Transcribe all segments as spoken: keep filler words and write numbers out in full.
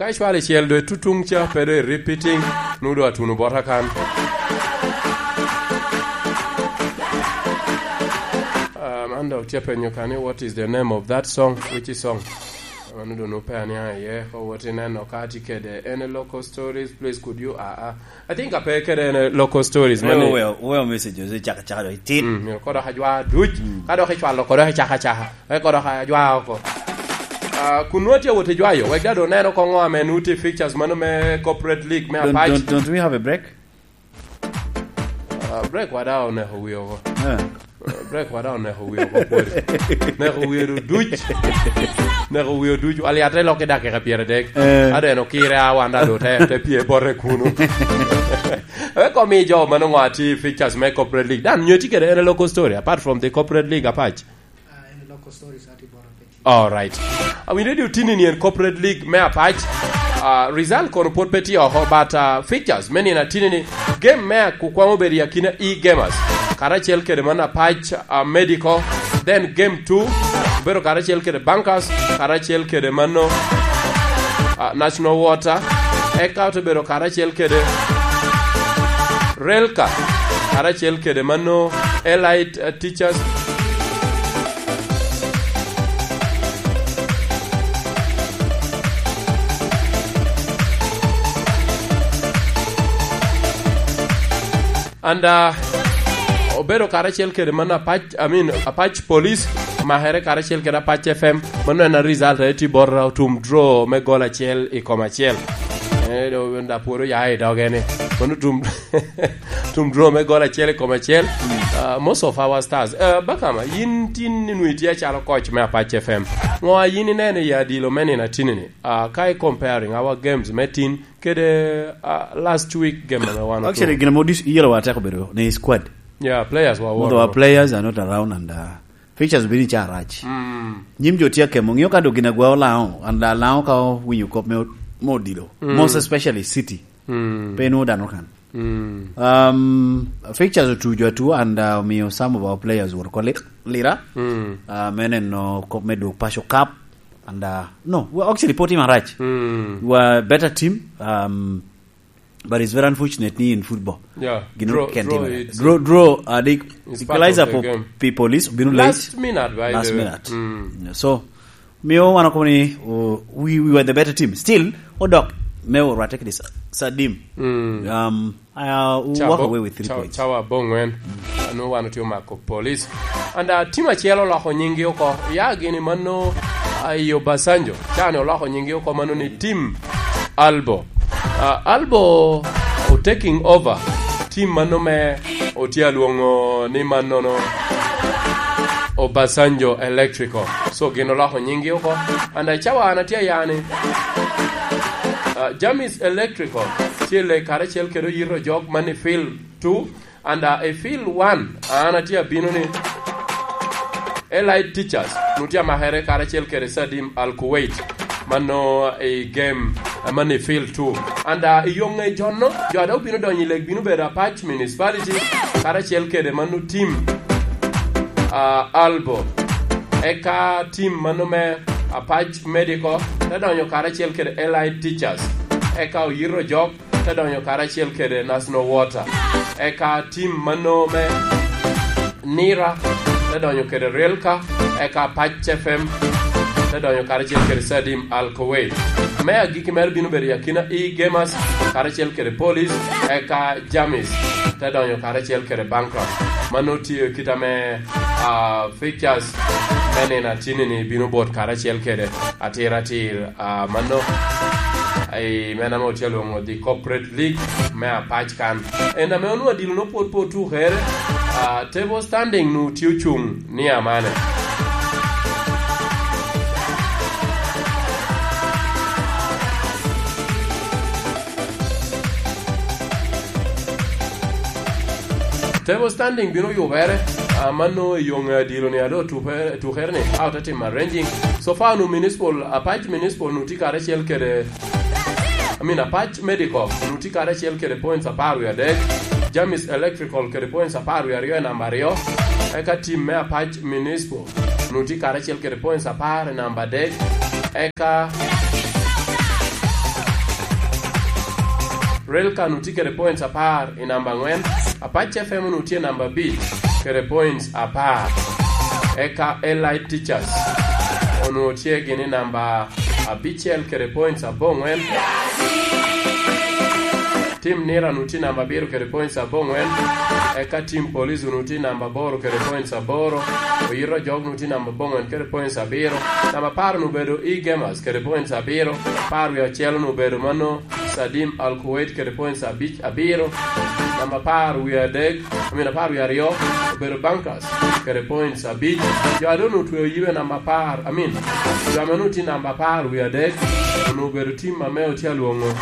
Ka icwalo icel doŋ itutuŋ ca, pe doŋ i repeating, nwoŋo doŋ atuno bota kan. Ah, man dok tye penyo ka ni, "What is the name of that song?" Which song? Mano doŋ nwoŋo pe aniaŋ iye, ko wot ineno ka tye kede any local stories, please could you, ah, ah. I think ape kede any local stories, mani. Wewe, wewe message, ose caka caka doŋ itin. Mm, myero kodo ka jwa duc, mm, ka dok icwalo kodo i caka caka, wek kodo ka jwa oko. Ah, kun nwoŋo tye awot i jwayo, wek daŋ doŋ neno koŋo ame nwoŋo tye fixtures mano me Corporate League me Don't, Apac. Don't, don't we have a break? Ah, break wada oneko wi oko. Eh. Ah, break wada oneko wi oko pwod. Neko wi oduc. Neko wi oduc. Wali ate lok i dakika pyeradek. Eh. Ado en okire a wan daŋ doŋ te, te pye bote kuno. Wek omi jo ma nwoŋo atye fixtures me Corporate League. Dan, nyo tye kede any local story apart from the Corporate League Apac? Ah, any local stories ati boro pe. All right. Awinyo ni otinni ni en Corporate League me Apac. Ah, result kono pwod pe tye oko, but, ah, fixtures me nino atinni ni game me ak-, kwamo bedo i akina E Gamers. Karacel kede man Apac, ah, Medical. Then game two, obedo karacel kede Bankers, karacel kede mano, ah, National Water. Eka ote bedo karacel kede Relka, karacel kede mano Elite, eh, Teachers. And, uh, obedo karacel kede man Apac, I mean, Apac Police, makere karacel kede Apac F M. Mano en a result a eti bot otum draw me gol acel i kom acel. Eh, do, da pwod oya i doge ni. Mano tum, tum draw me gol acel i kom acel. Uh, most of our stars. Uh, Bakama, yin tin ni nwi tye acalo coach me Apac F M. Ngo a yin ineno i adilo me nino atini ni? Uh, ka i comparing our games me tin kede, uh, last week game ame wan otuko. Actually, gin ame odis-, yelo wa teko bedo ni squad. Yeah, players wa. Most of our players are not around and, uh, fixtures bini ca rac. Mm. Nyim jo tye akemo, ng'eyo ka do gin agwa olaŋo, and, uh, laŋo ka owinyo kop me od-, me odilo. Mm. Most especially City. Mm. Pe nwoŋo dano kan. Mm. Um, fixtures otuco atu and, uh, omiyo some of our players were called li-, lira. Mm. Uh, me neno kop me dwog Paco Cup. And, uh, no, we are actually putting a rush. Mm. We are a better team, um, but it's very unfortunate ni in football. Yeah. Gin draw, oken draw, time. It's draw, draw, uh, the it's part equalizer of the for game. People is been late. Last minute, by the way. Last minute. Mm. Yeah, so, miyo wan okobo ni, oh, we, we were the better team. Still, odok, me orwate kede Sa-, Sadim. Mm. Um, Uh, we walk away with three points. Cawa abongwen. Anu wan otye omako Police. And, uh, team acel oloko nyinggi oko. Ya gini mano, uh, i Obasanjo. Cani oloko nyinggi oko mano ni team Albo. Uh, Albo o taking over team mano me otye alwoŋo ni mannono Obasanjo Electrical. So gin oloko nyinggi oko. And, uh, cawa an atye ayani, uh, Jamis Electrical tye le karacel kede oyito jok man i field two, and, uh, i field one, an atye abino ni Elite Teachers, nu tye amakere karacel kede Sadim Al Kuwait, mano i game, uh, man i field two. And, uh, i yo ŋe jonno, jo a dok bino donyo i leg bino bedo Apac Municipality, karacel kede mano team, uh, Albo. Eka team mano me Apac Medical, te donyo karacel kede Elite Teachers. Eka oyito jok, te donyo karacel kede National Water. Eka team mano me Nira, te donyo kede Relka, eka Pac F M, te donyo karacel kede Sadim Al Kuwait. Me agikki mere bino bedo i akina E Gamers, karacel kede Police, eka Jamis, te donyo karacel kede Bankrupt. Mano tye kit ame, ah, fixtures me nino atini-ni bino bot karacel kede atir atir, ah, mano, i men ame otye alwoŋo the Corporate League me Apac kan. En ame onwoŋo adilo no pwod pe otukere, ah, table standing nu tye ocuŋ ni amane. Table standing bino yubere, ah, mano i yo ŋe adilo ni ado tupe-, tukere ni, a ote timo arranging. So far nu Municipal, Apac Municipal nu tye karacel kede, I mean, Apac Medical nu tye karacel kede points apar wie adek, Jamis Electrical kede points apar wie aryo i namba aryo, eka team me Apac Municipal nu tye karacel kede points apar i namba adek, eka Relka onwoŋo tye kede points apar i namba aŋwen. Apac F M onwoŋo tye namba abic kede points apar. Eka Elite Teachers onwoŋo tye gini namba abicel kede points aboŋwen. Tim Nira onwoŋo tye namba abiro kede points aboŋwen. Eka Tim Police onwoŋo tye namba aboro kede points aboro. Oyito Ojok onwoŋo tye namba aboŋwen kede points abiro. Namba apar onwoŋo obedo E Gamers kede points abiro. Apar wie acel onwoŋo obedo mano Sadim Al Kuwait kede points abic, abiro. Namba apar wie adek, I mean, apar wie aryo obedo Bankas kede points abic. Jo a doŋ otweo yibe namba apar, I mean, jo ame onwoŋo tye namba apar wie adek onwoŋo obedo tim ame otye alwoŋo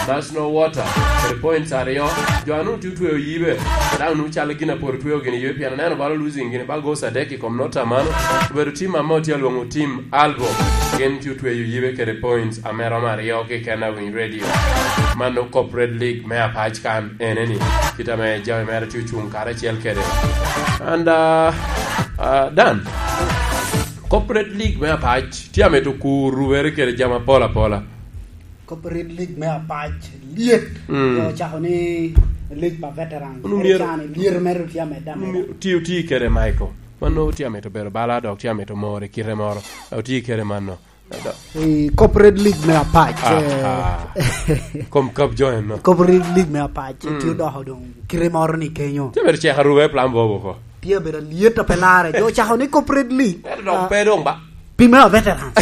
National Water kede points aryo. Jo a nwoŋo tye otweo yibe, daŋ onwoŋo calo gin a pwod otweo gini yibe, pien aneno bala losing gini ba goals adek i kom nota mano. Obedo tim ame otye alwoŋo tim Albo, gin tye otweyo yibe kede points ame romo aryo keken a Winy Radio. Mano Corporate League me Apac kan eneni, kit ame jami mere tye ocuŋ karacel kede. And, uh, uh, Dan, Corporate League me Apac tye amito kur rubere kede jami apol apola. Corporate League me Apac lyet. Mm. Jo ocako ni League pa Veterans. Unu Ere myero can lyet mere tye amedde ameda. Unu myero ti oti kede Michael. Mano tye amito bedo bala, dok tye amito more kite moro. Oti kede mano. I Corporate League me Apac, aha, eh, kom kap jo en no. Corporate League me Apac, mm, tye odoko doŋ kite moro ni kenyo. Tye bedo cek aruba i plan bobo ko. Tye bedo lyet a pe lare. Jo ocako ni Corporate League. Ento dok, ah, pe doŋ ba. Pi me veterans.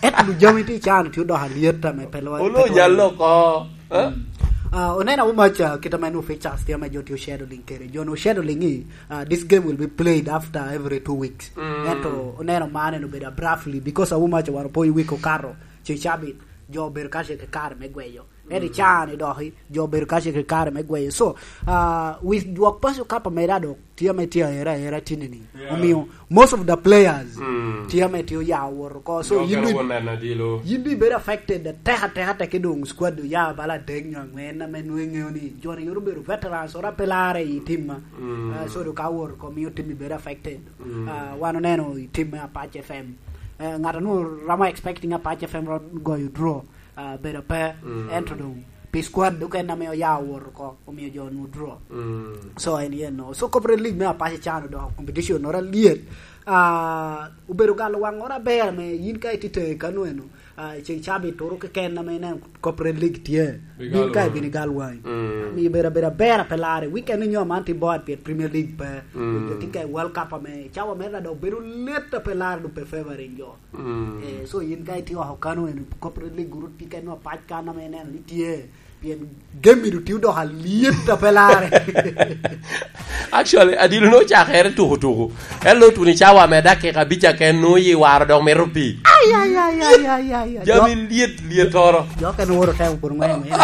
Ento jami tye can tye odoko alyet ame pe lwa-, olo pe lwa-, nyal oko. Eh? Mm. Ah, oneno awo mac, ah, kit ame nu pictures tye ame jo tye oshadowing kede. Jo nu oshadowing i, ah, this game will be played after every two weeks. Mm. Ento oneno man en obedo abruptly because awo mac wan opwonyo week okato, ce cabit, jo obedo ka ce ke kare me gweyo. Ento i, mm, caa-ni doki, jo obedo ka ce ke kare me gweyo. So, ah, wi dwok paco kapa meda dok tye ame tye aera aera tini-ni. Yeah. Omio, most of the players, mm, tye ame tye oya owoto oko. So, jo yin okene du-, owoto neno adilo. Yin du ibedo affected atek atek atek ki doŋ squad oya bala adek nyo aŋwen ame nwoŋo iŋeo ni jo-ni yot obedo veterans, ora pe lare i tim ma. Mm. Ah, so, do ka owoto oko, mio tim ibedo affected. Mm. Ah, wan oneno i tim me Apache F M. Eh, ŋat a nwoŋo romo expecting Apache F M ro-, goyo draw. Ah, bedo pe, mm, ento doŋ pi squad okene ame oya owoto oko, omio jo onwoŋo draw. Mm. So, en yen no. So, Corporate League me Apache can odoko competition oro alyet. Ah, obedo galo waŋ oro aber ame yin ka itye teŋe kano eno, ah, ceng cabit turu keken ame ineno Corporate League tye. Bin ka ibino igal waŋi. Mm. Omio bedo, bedo aber ape lare. Weekend onyo man tye bored pien Premier League pe. Mm. Jo tye ka i World Cup ame cawa mere dok bedo let ape lare, doŋ pe favoring jo. Mm. Eh, so yin ka itye oko kano eno, Corporate League guru tye ka ineno Apac kan ame ineno ni tye. Pien game-mi doŋ tye odoko alyet ape lare. Actually, adilo nwoŋo ocakere tuku tuku. En lo tuno i cawa me dakika abic aken nwoŋo yi waro dok mito pii. Ai, ai, ai, ai, ai, ai, ai. Jami lyet, lyet toro. Jo okene woro temo pwod ŋweno, ŋweno.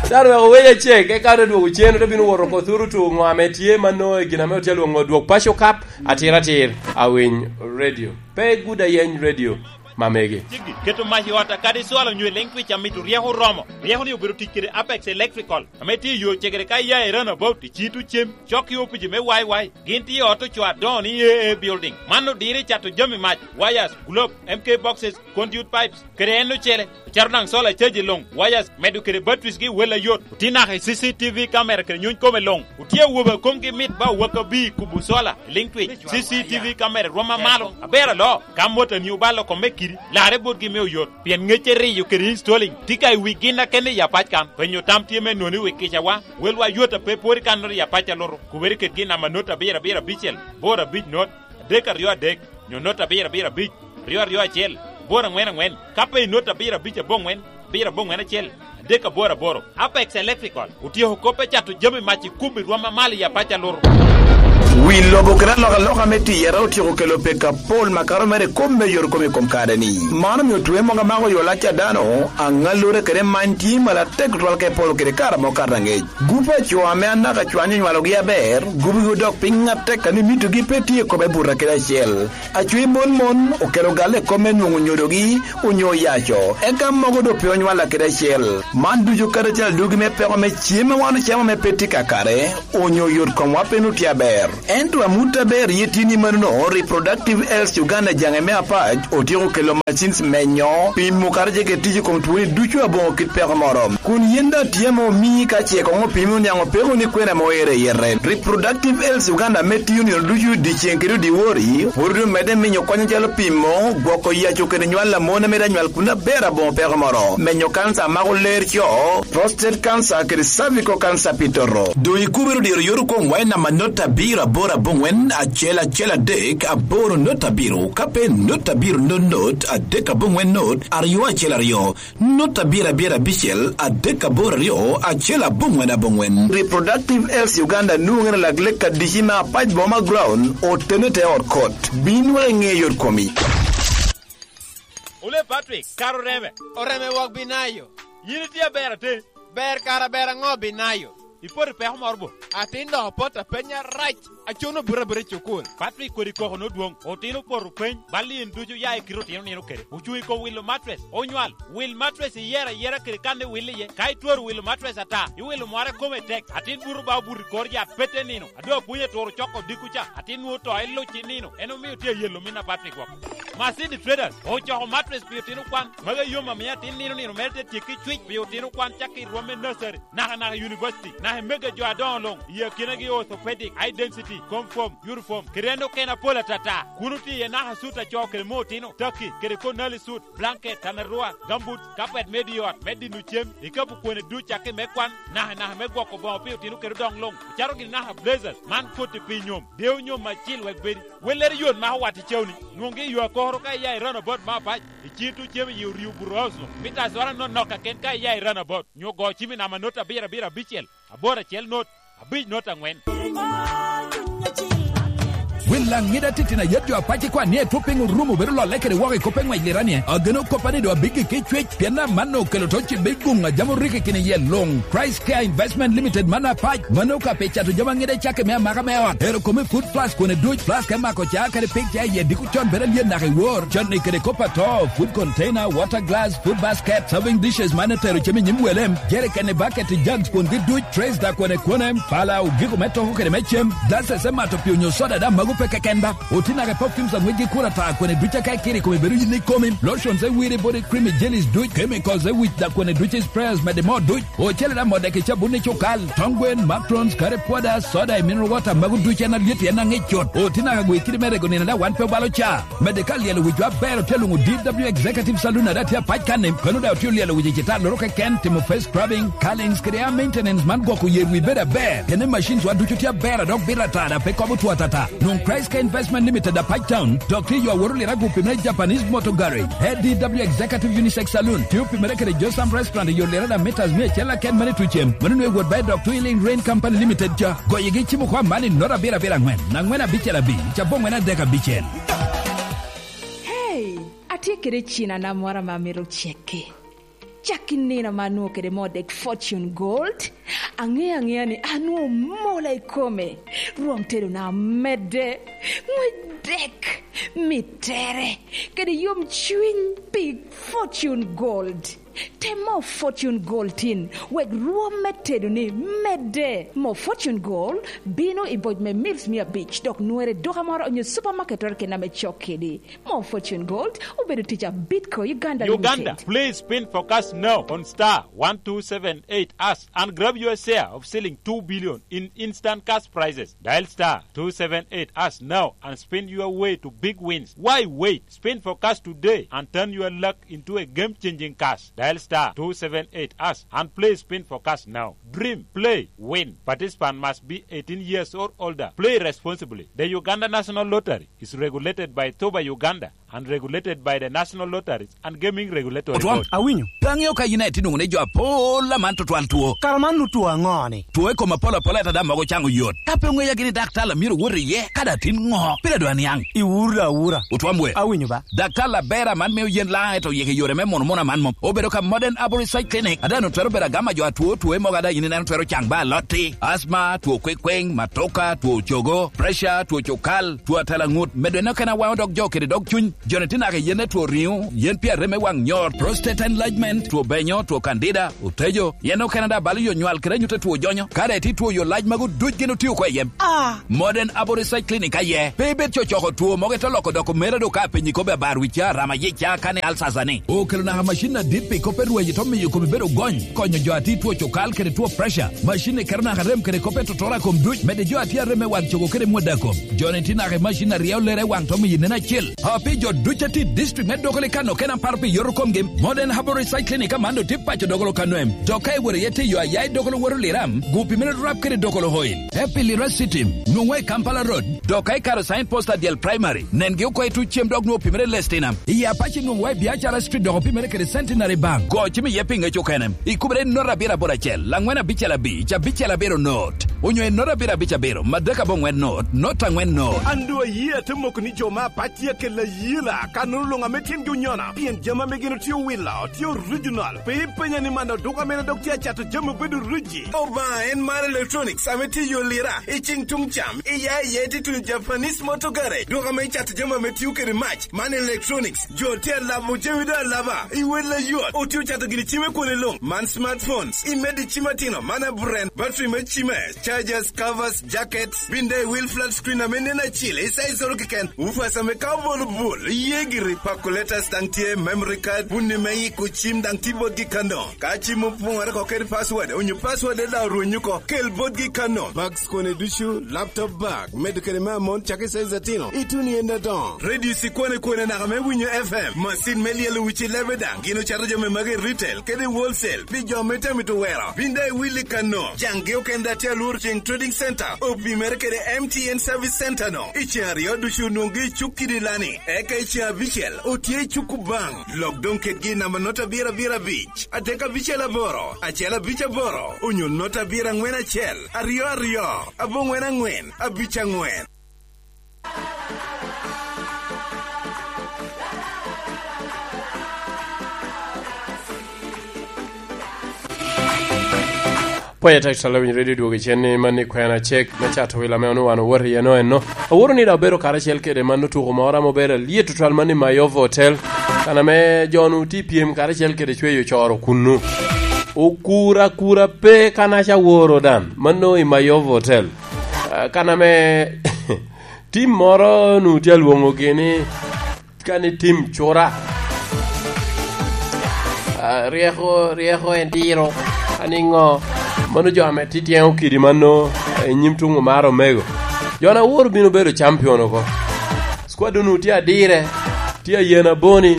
Dano wek owec acek, eka dok dwogo cen, ote bino woro oko thuru tuku ŋo ame tye ma nwoŋo i gin ame otye alwoŋo dwok paco kap. Atir atir, Awiny Radio. Pe gudo ayeny radio, mamegi. Ceggi, keto mac i ot a kadi cwalo nyo i leŋ twic amito ryeko oromo. Ryeko-ni obedo tic kede Apex Electrical, ame tye i yo cegere ka iya i Runabout, i Citu Cem, cok i opici me Y Y. Gin tye i ot ocoo adoŋo ni A A Building. Man odiro i cato jami mac, wires, globe, M K boxes, conduit pipes, kede en ocele. Ocato daŋ solar charge i luŋ, wires, medo kede batteries gi wel ayot. Otye naka i C C T V camera kede nyuny kome luŋ. Otye awobe a komgi mit ba owakabi i kubo solar i liŋ twic. C C T V camera rwom amalo, aber aloo. Ka motani obalo kome kidi, larre botgi me oyot. Pien ŋecce riyo kede installing tye ka i wi gin akene i Apac kan. Penyo tam tye me nwoŋo i wi kicawa. Welwa yot a pe pwod i kannoro i Apac alutu. Kubere kedgi i namba not abiro abiro abicel, boro abic not, adek aryo adek, nyo not abiro abiro abic, ryo aryo acel, boro aŋwen aŋwen, ka pe i not abiro abic aboŋwen, abiro aboŋwen acel, adek aboro aboro. Apex Electrical otyeko kop me cato jami mac i kubo i rwom amalo i Apac alutu. Wi lobo kede alokaloka me tiyere otyeko kelo peko apol makato mere i kop me yot kom i kom kare-ni. Man omio twe mogo amako yo lac a dano, aŋallure kede many tye malatek tutwal ka ipolo kede kare ame okato aŋec. Gup a co ame anaka cwanyo onywalogi aber, gubigi odok piny atek a ni mitogi pe tye i kome buto kede acel. Acwi mon mon okelo galle i kome nwoŋo onyodogi onyo oyaco, eka mogo doŋ pe onywalla kede acel. Man ducu karacel adugi me peko me cem ma wan ocamo ame pe tye kakare, onyo yot komwa pe nwoŋo tye aber. Ento amut aber ye tye ni manono, Reproductive Health Uganda jaŋe me apac otyeko kelo machines menyo, pimo kara jeke tic i kom twoni ducu aboŋo kit peko moro. Kun yen daŋ tye ame omii ka ce koŋ opimi oniaŋ opeko ni kwena ame oero i yete. Reproductive Health Uganda ame tiyo nino ducu dyeceŋ kede dyewor, pwod omedde minyo kony acalo pimo, gwoko yaco kede nywal a mon ame daŋ nywal kun aber aboŋo peko moro, menyo kanca a mako ler co, prostate cancer kede cervical cancer pi toto. Doŋ ikubere dyero yot okoŋ wac namba not abiro aboro aboŋwen acel acel adek aboro not abiro, ka pe not abiro not not adek aboŋwen not aryo acel aryo, not abiro abiro abicel adek aboro aryo acel aboŋwen aboŋwen. Reproductive Health Uganda nwoŋere lak lek adici me apac boma ground otene te ot kot. Bin wek iŋe yot komi. Ole Patrick, kara oreme. Oreme wok Binayo. Yin itye aber atin. Ber kara ber aŋo Binayo? Ipoto i peko moro bo? Atin dok apoto apenya rac. Acono buto abuta i cukul. Patrick kodi koko nodwoŋ. Otino opoto peny. Bal in ducu ya i kite otino nino kede. Ocuŋ i kom wilo matres. Onywal. Wil matres iyero ayera kede kan iwil iye. Ka itwero wilo matres ata, iwilo mware kome tek. Atin buto ba obuto i kor yat pete nino. Ado apwony aturo coko odiko ca, atin nwoŋo to iluc i nino, en omio tye ayelo min apat i gwok. Masindi Traders ocoko matres pi otino kwan, magi ayom amio atin nino nino mere te tyekki cwic pi otino kwan cakki i rwom me nursery, naka naka i university, naka i mega jo adoŋo luŋ, i akinagi orthopedic, high density, comfort, uniform, kede en okene apol atata. Kun otye iye naka sut acoo kede me otino, taki, kede konali sut, blanket, tanarua, gambut, kapet me di ot, me dino cem, ikabu kwene duc cakki me kwan, naka naka me gwoko boŋo pi otino kede odoŋ luŋ, ocaro gini naka blazers, man koti pi nyom, deo nyom acil wek bedi. Wellere yot mako wat i cewni, nwoŋgi i yo akoro ka iya i runabout me apac, i cin tuŋ cem i yi oryo buto house luŋ, mita azwara nonok kaken ka iya i runabout, nyo go cim i namba not abiro abiro abicel, aboro acel not, abic not aŋwen. Wil laŋ ŋida titino ayet jo apac ikwan ni etwo piny orumo bedo lolle kede woko i kop eŋwec liranie. Ageno koppa ni doŋ abiggi ki cwec, pien amanno okelo to cibbe i guŋ a jam oriki kine iye luŋ. Price Care Investment Limited man apac, mano ka pi cato jami aŋida icakke me amaka me ot. Ero kome food flask kone duc, flask me mako ca kede pig ca iye diko con bedo alyet naka i wor. Con ni kede kop ato, food container, water glass, food basket, serving dishes man etero cem i nyim welem, jerikeni, bucket, jugs, kwongi duc, trays da kwene kwene, pala, ogiko me toko kede me cem, glasses me mato pi onyo soda da mago pe keken ba. Oti naka perfumes a ŋwecgi kur ata kwene duc aka ikiri kome bedo yin ikomi, lotions e wiri body cream i jellies duc, chemicals e wic da kwene duc i sprayers mede mo duc, ocele da modek i cabun i cukal, tong gwen, macrons, curry powder, soda i mineral water mago duc en alyet en aŋic cut. Oti naka gwe kidi me rego nino da wan pe obalo ca. Medde ka lyelo wicwa aber otye luŋo D W Executive Saloon a daŋ tye apac kanni, kono daŋ otye olyelo wic i citar loro keken, timo face scrubbing, curlings kede hair maintenance man gwoko yer wi bedo aber. Kene machines wa ducu tye aber a dok bito ata daŋ pe kobo two atata. Nwoŋ Christ Care Investment Limited apac town, dok tye yo aworo lira gupi me Japanese Motor Garage. A D W Executive Unisex Saloon tye opimere kede Josam Restaurant i yo lira daŋ meters mia acel aken mane tucem. Mano nwe wot ba i dok Twilling Rain Company Limited ca. Goyigi cimo kwa man i nota abiro abiro aŋwen, aŋwen abicel abic, aboŋwen adek abicel. Hey, atye kede cina na moro ame amito cekke. Cak i nino ame anwoŋo kede moo dek Fortune Gold, aŋeyo aŋeya ni anwoŋo mola i kome. Rwom tedona medde, ŋwec dek, mittere, kede yom cwiny pi Fortune Gold. Tem moo Fortune Gold tin, wek rwom me tedoni medde. Moo Fortune Gold bino i boc me mils mia abic, dok nwere i duka moro onyo supermarket oro kena me cok kedi. Moo Fortune Gold obedo tic a Bitco Uganda Uganda, Limited. Please spin for cash now on star one two seven eight hash and grab your share of selling two billion in instant cash prizes. Dial star two seven eight hash now and spin your way to big wins. Why wait? Spin for cash today and turn your luck into a game-changing cash. Dial star two seven eight hash and play spin for cash now. Dream, play, win. Participant must be eighteen years or older. Play responsibly. The Uganda National Lottery is regulated by Toba Uganda and regulated by the National Lotteries and Gaming Regulatory Otwam. Board. Awinyo. Pe aŋeo ka yin aye tye nwoŋo ni jo apol aman tutwal two. Kara man nu two aŋo ni? Two i kom apol apol ata daŋ mogo caŋ oyot. Ka pe oŋeya gini daktar amyero wot iye, ka daŋ tin ŋo? Pire dwa niaŋ. Iwuro da awura. Otwam we. Awinyo ba. Daktar Labera man mio yen laŋ eto yeke yore me mono mono aman mom. Obedo ka Modern Herbal Research Clinic. Ada no twero bedo agama jo atwo two mogo ada yin ineno twero caŋ ba alotti. Asma, two kwekweng, matoka, two cogo, pressure, two cukal, two atela ŋut. Medo eno kena waŋo dog jo kede dog cuny. Joni tye naka i yen me two riŋo, yen pi arem me waŋ nyor, prostate enlargement, two benyo, two candida, otejo. Yen okene daŋ balo yo nywal kede anyut a two jonyo. Ka daŋ itye two yo lac magu duc gin otio oko i yem. Ah. Modern Herbal Research Clinic aye. Pe ibed cocoko two mogo ite loko doko mera do ka penyi kobbe abar wicca, rama yica, kane alsasa ni. Okelo naka macin adit pi kop e rweny ito miyo kome bedo gony. Konyo jo a tye two cukal kede two pressure. Macin ni keto naka rem kede kop e totoro a kom duc. Mede jo a tye arem me waŋ cogo kede mwada kom. Joni tye naka i macin a ryeo lere i waŋ to miyo nen acel. A pi jo duc a tye i district me Dokolo i Kano kena paro pi yoto komgi, Modern Herbal Research Clinic aman do tye paco Dokolo Kano em. Dok ka iwoto iye tye yo aya i Dokolo woto Liram, gu pi mene rap kede Dokolo Oil. Happy Lira City, nwoŋwa i Kampala Road. Dok ka ikaro sign post adyel primary, nengi oko i tuc cem dok nwoŋo pi mene Lestinam. I Apache nwoŋwa i Biacara Street dok pi mene kede Centenary Bank. Go cim iye pi ŋec okene. Ikubere i not abiro aboro acel, laŋwen abicel abic, abicel abiro not. Onyo i not abiro abic abiro, madek aboŋwen not, not aŋwen not. An doŋ ayie ate moko ni jo me Apac tye akelo ayela, ka nwoŋo luŋ ame tyengi onyona, pien jami ame gin otye owilo, tye original. Pe ipenya ni man oduka mene dok tye acato jami obedo riji. Obaŋa en mar electronics ame tye i yo Lira, i ceng tuŋ cam, iya iye tye tuno Japanese motor garage, duka ame cato jami ame tio kede mac, man electronics. Jo tye alabo jami doŋ alaba, i wel ayot, otye ocato gini cim i kwone luŋ. Man smartphones, i medi cim atino, man aburen, battery me cime, chargers, covers, jackets, bin daŋ i wil flat screen ame nen acil, i size oro keken, woofers ame ka obolo bul, iye giri, calculators daŋ tye, memory card, bunni me yiko cim daŋ tye botgi kano. Ka cim opoŋere oko kede password, onyo password daŋ orwenyo oko, kel botgi kano. Bags kone ducu, laptop bag, medo kede me amon cak i size atino, ituno i en adoŋo. Radio cikwane kwane naka me winyo F M, macin me lyelo wic i lebe daŋ, gin ocato jami magi i retail kede i wholesale pi jo ame tye amito wero. Bin daŋ iwil i kano. Caŋgi okende daŋ tye alworo ceŋ Trading Center, opimere kede M T N Service Center no. I ceŋ aryo ducu onwoŋgi i cuk kidi lani, eka i ceŋ abicel otye i cuk Kubaŋ. Lok doŋ kedgi i namba not abiro abiro abic, adek abicel aboro, acel abic aboro, onyo not abiro aŋwen acel, aryo aryo, aboŋwen aŋwen, abic aŋwen. Pwony atek, Salowiny Radio dwogo i cen ni man ni kwena cek me cato wil ame onwoŋo wan owoto iye no enno. Aworo ni daŋ obedo karacel kede man otuko moro ame obedo alyet tutwal man i Mayova Hotel. Kan ame jo-nu tye i pyem karacel kede cweyo coro kunnu. Okur akura pe kanaca woro dan, mano i Mayova Hotel. Ah, kan ame tim moro nu tye alwoŋogi ni, kani tim cura. Ah, ryeko, ryeko en tiro. Ani ŋo? Mano jo ame tityeŋo kidi mano i nyim tuŋ omaro omego. Jo na woro bino bedo champion oko. Squad nu tye adire, tye ayen aboni,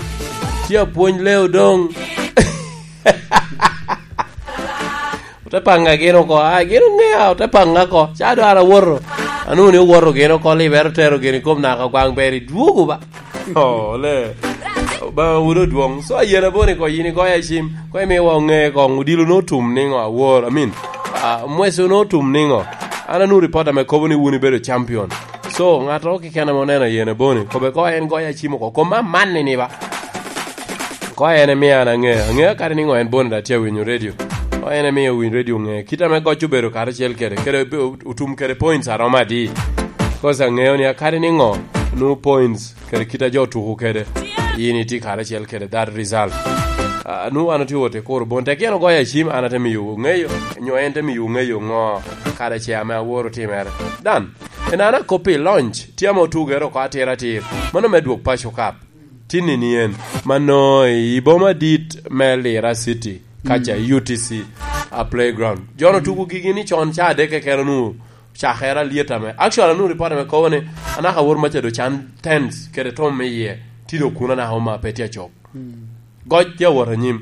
tye apwony leo doŋ. Ote paŋa gin oko, a, gin oŋea, ote paŋa oko. Ca doŋ an awoto. Anwoŋo ni owoto gin oko, libere otero gin i kom naka gwaŋ ber idwogo ba. Oh, le. Ba wuro dwoŋ. So, ayen aboni ko yin igoya cim, ko imiwa oŋe ko, odilo no otum niŋo awor, I mean, ah, mweso no otum niŋo. An anwoŋo report ame kobo ni wun ibedo champion. So, ŋato keken ame oneno ayen aboni, kobe ko en goya cim oko, kom amanni ni ba. Ko en emio an aŋe, aŋe kadi niŋo en bone da tye awinyo radio. Ko en emio winy radio ŋe. Kit ame goc obedo karacel kede, kede be otum kede points aromo adi. Cause aŋeo ni akadi niŋo, nu points kede kit a jo tuko kede. In itye karacel kede that result. Ah, nu wan otye wot i kuro bon. Tek yen ogoyo acim, an ate miyo ŋeyo, nyo en te miyo ŋeyo ŋo kare ce ame aworo timere. Dan, en an akoppi launch, tye ame otugere oko atir atir. Mano me dwok paco kap. Tinni ni en, mano i boma dit me Lira City, kaca i U T C, a playground. Jono tugo gigi ni con ca adek keken onwoŋo cakere alyet ame. Actually, anwoŋo report ame kobo ni, anaka awor maca do can tents kede tom me iye, tye do kuno anaka oma pe tye acok. Goc tye awot anyim.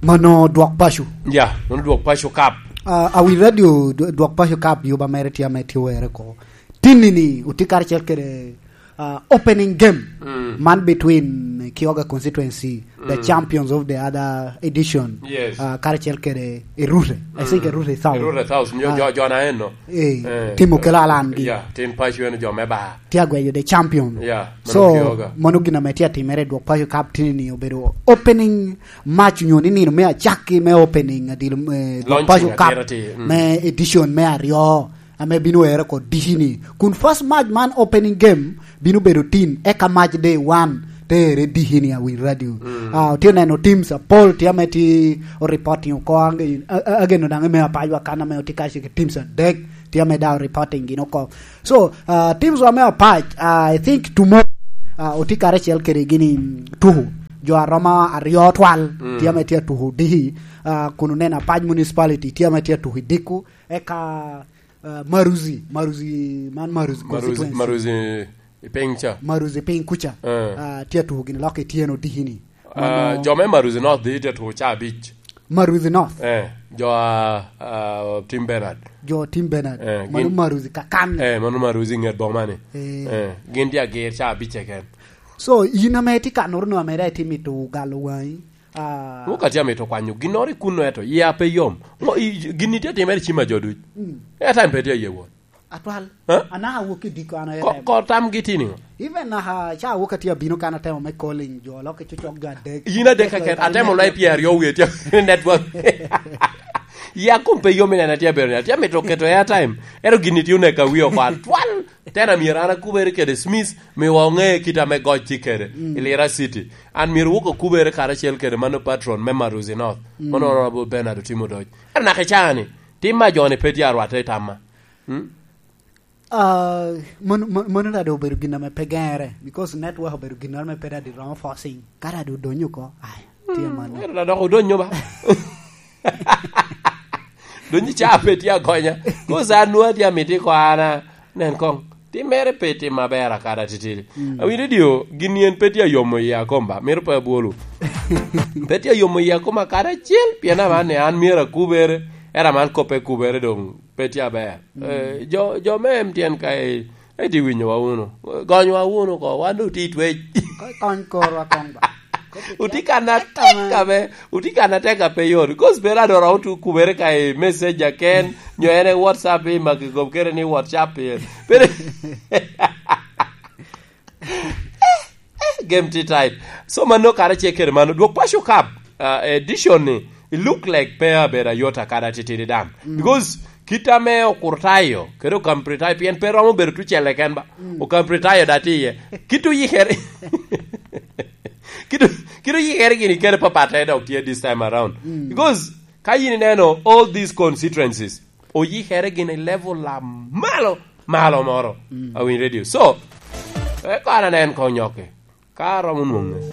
Mano dwok paco. Ya, mano dwok paco kap. Ah, awi radio dw-, dwok paco kap yuba mere tye ame tye were ko. Tinni ni, otye karacel kede uh, opening game, mm, man between Kioga constituency, the, mm, champions of the other edition, yes, uh, karacel kede Erure. I think, mm, Erure South. Erure South, nyo, uh, jo, jo na eno. Eh, eh, timo kela alan gi. Yeah, tin paco en jo me ba. Tye agweyo the champion. Yeah, mano so, Kioga. Mano gin ame tye atimere dwok paco kap tini ni obedo opening match nyo ni nino me acakki me opening adil, eh, dwok paco kap, mm, me edition me aryo. ame bino ere oko diki-ni. Kun first match man, opening game, bino bedo tin, eka match day one, te ere diki-ni, Awiny Radio. Mm. Ah, otye neno teams apol, tye ame tye o reporting oko, ange-, a-, a-, ageno daŋ me Apacwa kan ame otye kacel ki teams adek, tye ame daŋ o reporting gin oko. So, ah, teams wa me Apac, ah, I think tomorrow, ah, otye karacel kede gini tuku. Jo aroma aryo twal, mm, tye ame tye atuku diki, ah, kun oneno Apac Municipality, tye ame tye atuku i dikku, eka ah, Maruzi, Maruzi, man Maruzi Maruzi, constituency. Maruzi i piny ca. Maruzi piny kuca. Eh. Ah, tye atuko gini lok i tyeno diki-ni. Ah, mano jo me Maruzi North dhi tye atuko ca abic. Maruzi North. Eh, jo a, a, Tim Bernard. Jo Tim Bernard. Eh, mano gin Maruzi kakan. Eh, mano Maruzi nget boma ni. Eh. Eh, gin tye agir ca abic keken. So, in ame tye ka noro no ame daŋ itye mito galo wangi, ah, Ŋo ka tye amito kwanyo ginnoro i kunno, ento yia pe yom. Ŋo, i, gin itye timere i cim a jo duc. Mm. Airtime pe tye aye wot. Atwal. Eh? Anaka awok i diko an ko, airtime. Ko tam gi tini ŋo? Even naka ca awok atye abino kan atemo me calling jo, lok i cocok jo adek. Yin adek keken, atemo lai pyer aryo wie tye network. Ya kom pe yom ineno atye abedo ni, atye amito keto airtime. Ento gin itye oneka wi oko atwal. Tena myero an akubere kede Smith, miwa oŋe kit ame goc tye kede, mm, i Lira City. An myero wok okubere karacel kede mano patron me Maruzi North. Mm. Mano Honorable Bernard Otimo Doc. Ento naka i caa ni, tim ma jo-ni pe tye arwatte i tamma. Mm? Ah, mon-, mon-, mano daŋ doŋ obedo gin ame pe geŋere, because network obedo gin ame pe daŋ romo forcing. Ka daŋ doŋ odonyo oko, ai, tye, mm, mano. Ento daŋ dok odonyo ba. Donyo ca pe tye agonya. Kosa an nwoŋo atye amito iko an a, nen koŋ. Timmere pe tim aber akada titidi. Mm. Awinyo dio, gin yen pe tye ayomo iya kom ba. Mito pe abwolo. Pe tye ayomo iya kom akada acel, pien aman ni an myero akubere, era man kop pe kubere doŋ pe tye aber. Mm. Eh, jo, jo me M T N ka i Eti winyowa wunu. Gonywa wunu ko, wan doŋ tye i twec. Ko-, kony korwa koŋ ba. Otye kan atek ame, otye kan atek a pe yot. Cause pe rado romo tu kubere ka i messenger ken, nyo en e WhatsApp i maki gob kere ni WhatsApp i. Pere. Eh, game tye tight. So mano kara ce kere mano. Dwok Paco Cup, uh, edition ni, it look like pe abedo ayot akada titidi daŋ. Mm. Because kit ame Okurtayo kede Okampritayo, pien pe romo bedo tucelle ken ba. Mm. Okampritayo da tye iye. Kit oyikere, kit o-, kit oyikere gini kene papatte dok tye this time around. Mm. Because ka yin ineno all these constituencies, oyikere gini level a malo, malo moro. Mm. Awiny Radio. So, e kara nen koŋ nyokke. Ka aromo nwoŋe,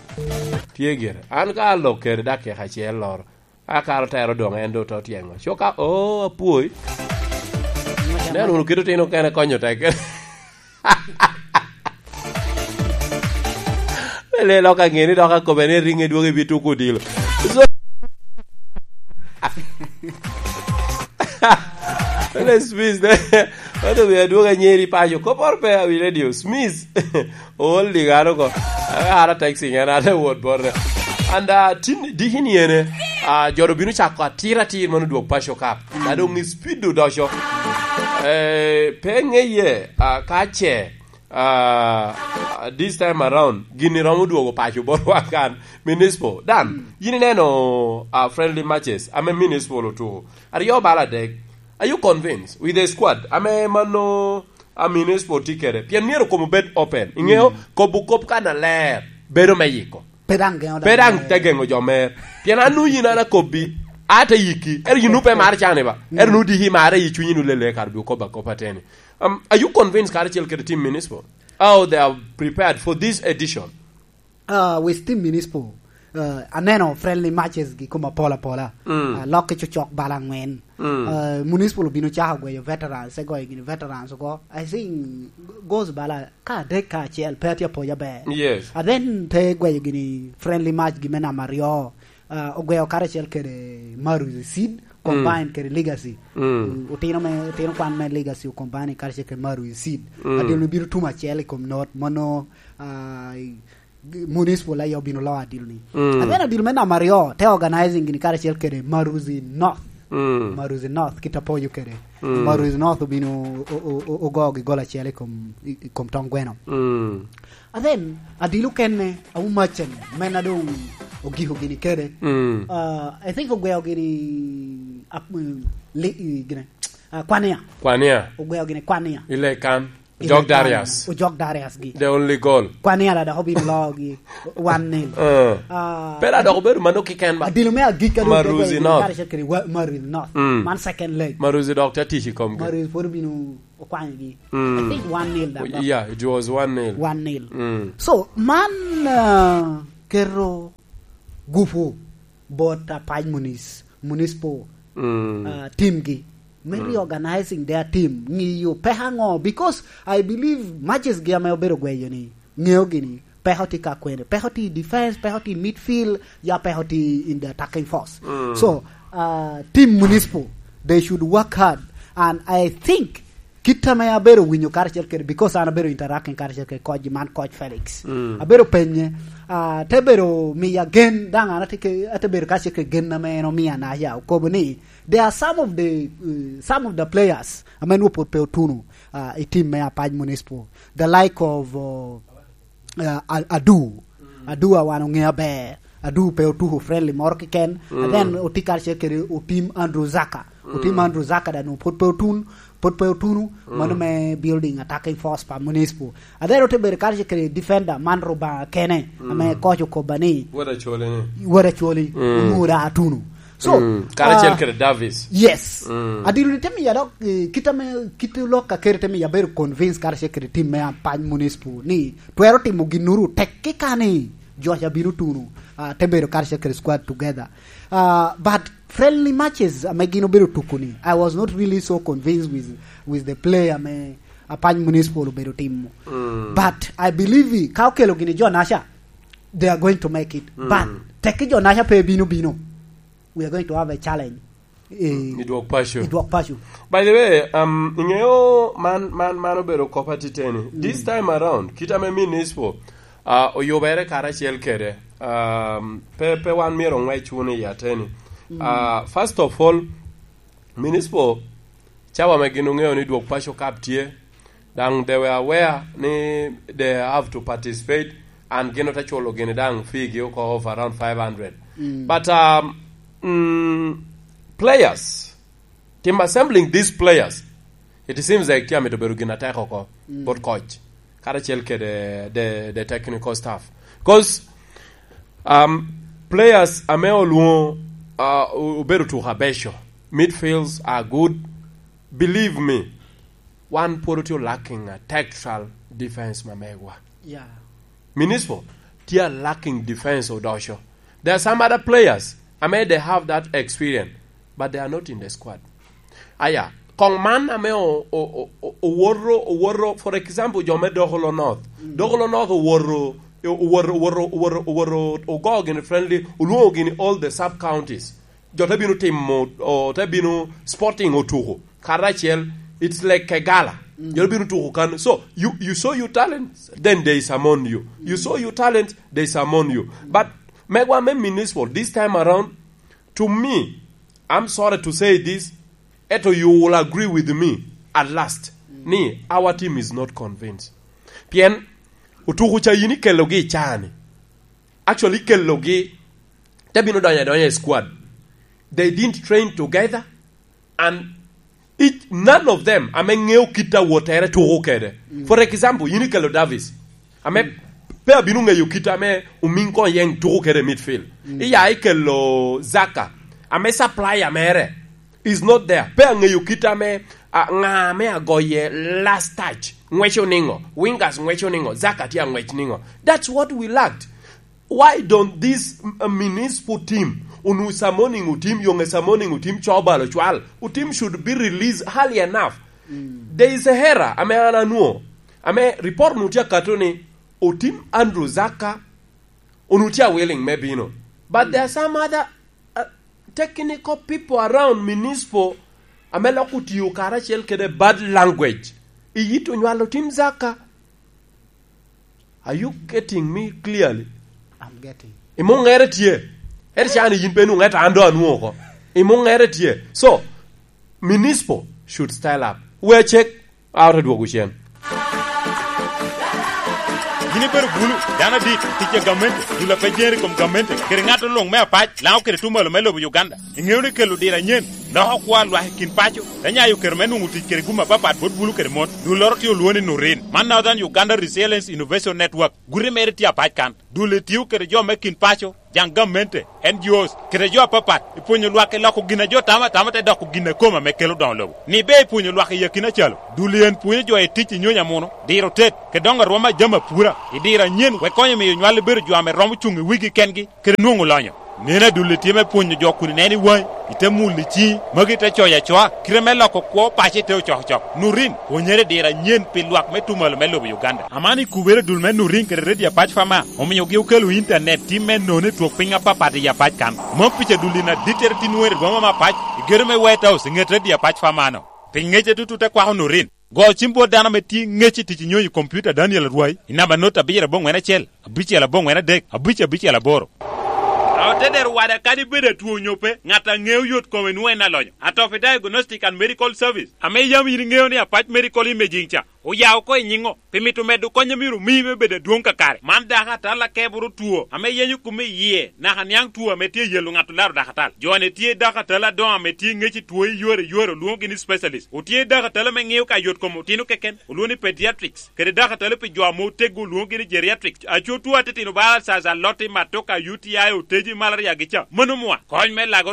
tye gire. An ka alok kede dakika acel loro, akaro tero doŋ en doŋ te otyeŋo. Coka, oh, apwoi. Nen wunu kit otino kene konyo tek. Le lok aŋe ni dok akobe ni ringe dwogo ibi tuko odilo. So, Ole Smith, ne, wan omio adwogo anyeri paco. Koporo pe awi radio. Smith, ool di gano ko. Ara texting en, ate wot bote. And, uh, tin, diki ni ene, uh, joro bino cako atir atir mano dwog Paco Cup. Na doŋ i speed odoco. Eh, pe ŋeye, uh, ka ce, uh, this time around, gini romo dwogo paco botwa kan. Municipal. Dan, mm, yin ineno, uh, friendly matches, ame Municipal otuko. Aryo bala adek. Are you convinced with the squad? Ame mano, a Municipal tye kede. Pien myero kom obed open. Ingeyo, mm, kobo kop kan aler. Bedo me yiko. Pe daŋ geŋo, pe daŋ te geŋo jo mer. Pien an nu yin an akobbi. A te yiki. Ero yin nu pe mar cani ba. Mm. Ero nu diki mare i cunyi nu lele kar bi okobo akoba teni. Um, are you convinced karacel kede team Municipal? How they are prepared for this edition? Ah, with team Municipal, ah, aneno friendly matches gi kom apol apola. Mm. Ah, lok ki cocok bala angwen. Mm. Ah, Municipal obino cako gweyo veterans, te goyo gini veterans oko. I think goals bala ka adek ka acel, pe atye apoja ber. Yes. And then te gweyo gini friendly match gi me namba aryo. Ah, ogweyo karacel kede Maruzi Seed, mm, combine kede Legacy. Mm. Mm, otino me, otino kwan me Legacy o combine karacel kede Maruzi Seed. Mm. Adil ni bino tum acel i kom not, mano, ah, Municipal aye obino loyo adil ni. Mm. And then adil me namba aryo, te organizing gini karacel kede Maruzi North. Mm. Maruzi North, kit apoyo kede. Mm. Maruzi North obino o-, o-, o-, ogo gi gol acel i kom, i, i kom tong gweno. Mm. And then, adil okene, Awu Macen, men a doŋ ogiko gini kede. Mm. Uh, I think ogweo gini, ap-, mm, li-, i, gine. Ah, Kwania. Kwania. Ogweo gini Kwania. Ile kan. Ile Jog kan. Darius. Ojok Darius gi. The only goal. Kwania da dok obin logi one nil. Eh. Ah, Pera dok obedo mano kiken ba. Adilo me agik ka dok Maruzi North. Kare cakere wa-, Maruzi North. Mm. Man second leg. Maruzi dok te tic i komgi. Maruzi pwod obino okwanyogi. Mm. I think one nil da dok. Yeah, it was one nil. One nil. Mm. So, man, ah, keto gupu bot, ah, Apac Munis-, Municipal, mm, ah, team gi. Me, mm, reorganizing their team. Ng'iyo peko aŋo? Because I believe matches gi ame obedo gweyo ni, ng'eyo gini, peko tye ka kwene. Peko tye i defense, peko tye i midfield, ya peko tye in the attacking force. Mm. So, ah, team Municipal, they should work hard. And I think kit ame abedo winyo karacel kede, because an abedo interacting karacel kede coach, man coach Felix. Mm. Abedo penye, ah, te bedo miya gen, daŋ an ate ke-, ate bedo karacel kede gen ame en omia na ya okobo ni, there are some of the, uh, some of the players ame nwo pwod pe otuno, ah, i team me Apac Municipal, the like of, uh, uh, A-, Adu. Mm. Adu a wan ong'e aber. Adu pe otuko friendly moro keken. Mm. And then oti karacel kede Otim Andrew Zaka. Otim, mm, Andrew Zaka da nwo pwod pe otun, pwod pe otuno, mm, mano me building attacking force pa Municipal. And then ote bedo karacel kede defender man Rubanga kene, mm, ame coach okoba ni, Wada Chole ni. Wada Chole, mm, onwoŋo da atuno. So, mm, karacel, ah, kede Davis. Yes. Mm. Adiro ni te miya dok, eh, kit ame, kit lok a kere te miya bedo convince karacel kede team me Apac Municipal ni twero timo ginnoro tek kika ni Josh abino tuno, ah, te bedo karacel kede squad together. Ah, but friendly matches ame gin obedo tuko ni, I was not really so convinced with, with the play ame Apac Municipal obedo timo. Mm. But I believe i, ka okelo gini jo naca, they are going to make it. Mm. But tek ki jo naca pe bino bino, we are going to have a challenge. Eh, i dwok paco. I dwok paco. By the way, um, ing'eyo man, man, man obedo kop atiteni. Mm. This time around, kit ame Municipal, uh, oyubere karacel kede, um, pe, pe wan myero ong'wec wunu i ateni. Mm. Uh, first of all, Municipal, cawa ame gin oŋeo ni dwok paco kap tye, daŋ they were aware ni they have to participate, and gin ote culo gini daŋ fee gi oko of around five hundred. Mm. But, um, mm, players, team assembling these players, it seems like tye amito bedo gin atek oko, mm, bot coach, karacel kede the, the technical staff. 'Cause, um, players ame olwoŋo, uh, o-, obedo tuko abeco, midfields are good. Believe me, wan pwod otye lacking a tactical defense ma megwa. Yeah. Municipal tye a lacking defense odoco. There are some other players, I mean, they have that experience, but they are not in the squad. Aya, kong man ame o-, o-, o-, o-, owoto, owoto, for example, jo me Dokolo North. Mm. Dokolo North owoto, owoto, owoto, owoto, owoto, ogo gini friendly, olwoŋo gini all the sub counties. Jo te bino timo, o, te bino Sporting otuko karacel, it's like a gala. Mm. Jo te bino tuko kan. So, you, you show your talent, then there is among you. You show your talent, there is among you. But megwa me Municipal, this time around, to me, I'm sorry to say this, eto you will agree with me at last, mm, ni our team is not convinced. Pien, otuko ca yin ikelogi i caa-ni. Actually, ikelogi, te bino donyo adonya i squad. They didn't train together, and each, none of them ame ŋeo kit a wottere tuko kede. Mm. For example, yin ikelo Davis, ame, mm, pe abino ŋeyo kit ame Omiŋ Koŋ Yeŋ tuko kede i midfield. Mm. Iya ikelo Zaka, ame supplier mere is not there. Pe aŋeyo kit ame, a, ŋa ame agoye last touch, ŋweco niŋo, wingers ŋweco niŋo, Zaka tye aŋwec niŋo. That's what we lacked. Why don't this, uh, Municipal team, onwoŋo summoning otim, yoŋe summoning otim, cobalo cwal, otim should be released early enough. Mm. There is a error, ame an anwoŋo, ame report nu tye akato ni, otim Andrew Zaka, onwoŋo tye a willing me bino. But, mm, there are some other, uh, technical people around Municipal, ame lok otiyo karacel kede bad language. Iyit onywalo otim Zaka. Are you getting me clearly? I'm getting. Imuŋere tye. Ere cani yin pe nwoŋo, eto an do anwoŋo oko. Imuŋere tye. So, Municipal should style up. We check out, adwogo cen. Yin ibedo bulu, dano adit, tic a gamente, dul a pe jere i kom gamente, kede ŋat luŋ me apac, Laŋo kede Tumalo me lobo Uganda. Iŋeo ni kelo diro anyen loko kwo a lwak i kin paco, te nyayo kero me nwoŋo tic kede gum apapat bot bulu kede mon. Dulloro tye olwoŋo ni Nurin. Man Northern Uganda Resilience Innovation Network. Guti mere tye apac kan. Dul etio kede jo me kin paco, jaŋ gamente, N G Os, kede jo apapat, i pwonyo lwak i loko gin a jo tamo atama te doko gin a kome ame kelo doŋo lobo. Ni be i pwonyo lwak i akina calo, dul en pwonyo jo i tic i nyonyo amuno, diro tet, kede doŋo arwom a jami apura, i diro anyen wek konyo miyo nywal bedo jo ame romo cuŋ i wigi kengi, kede nwoŋo lonyo. Neno adulli tye me pwonyo jo kun ineno i waŋi, ite mulo i ciŋi, magi te coyo acoa, kite me loko kwo paco ite ocokocok. Nurin, pwonyere i diro anyen pi lwak me Tumalo me lobo Uganda. Aman i kubere dul me Nurin kede Radio Apac Fama, omiogi okelo intanet tim me nono i twok piny apapat i Apac kan. Mom pica dul in adittere tin nwoŋo i rwoma me Apac, i gedo me White House, i ŋet Radio Apac Fama-no. Pi ŋec a tutut te kwako Nurin. Go cim bot dano ame tye ŋec i tic i nyonyo i kompiuta Daniel Arwai, i namba not abiro aboŋwen acel, abicel aboŋwen adek, abic abicel aboro. A ote dero wada kadi bed atwo onyo pe, ŋat a ŋeo yot kome nwoŋo en alonyo. Atopi Diagnostic and Medical Service, ame yam yin iŋeo ni Apac Medical Imaging ca, oya oko i nyiŋo, pi mito medo kony a myero omi me bedo adwoŋ kakare. Man dako atal akeboro two, ame yenyo kome i yie, naka niaŋ two ame tye i yelo ŋat olaro dako atal. Jo-ni tye dako atal adoŋo ame tye ŋec i two i yore yore, olwoŋogi ni specialist. Otye dako atal ame ŋeo ka yot kom otino keken, olwoŋo ni pediatrics, kede dako atal pi jo ame oteggo, olwoŋogi ni geriatrics. Aco two atitino bala caca, lotti, matoka, U T I, oteji, malaria gi ca. Mano mwa, kony me lago